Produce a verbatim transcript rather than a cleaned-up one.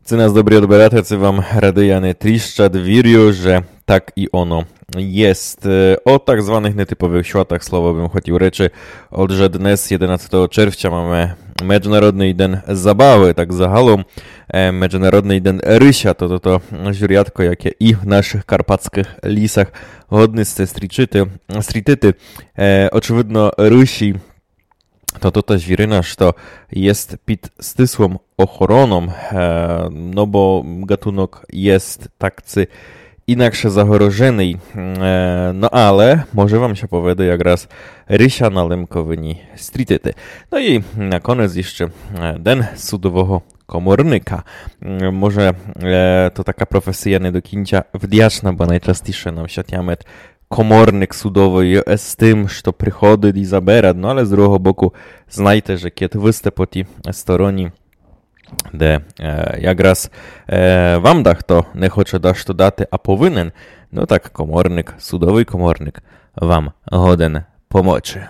Ци нас добрі одбирателі, ци вам радий, а не тріщать, вірю, же так і оно єст. Е, о так званых нетиповых святах слова бым хотів речи. Отже, днес, єденадцятого червця, маме Меджнародный ден забавы, так загалом, е, Меджнародный ден рыся, то, то, то журятко, яке і в нашых карпатскых лісах годны сте стрічити, стрітити. Е, очевидно, рысі то, то та звірина, што єст під стислом охороном, е, но бо ґатунок єст так ци інакше загроженый. Е, но але, може вам ся поведе якраз рыся на Лемковині стрітити. Но і на конець іщы, е, ден судового коморника. М, може, е, то така професія не до кінця вдячна, бо найчастіше нам ся тямить коморник судовый, е, з тым, што приходить і забирать, но але з другого боку, знайте, же кед вы сте по тій стороні, де, е, якраз, е, вам дахто не хоче дашто дати, а повинен, но так коморник, судовый коморник вам годен помочи.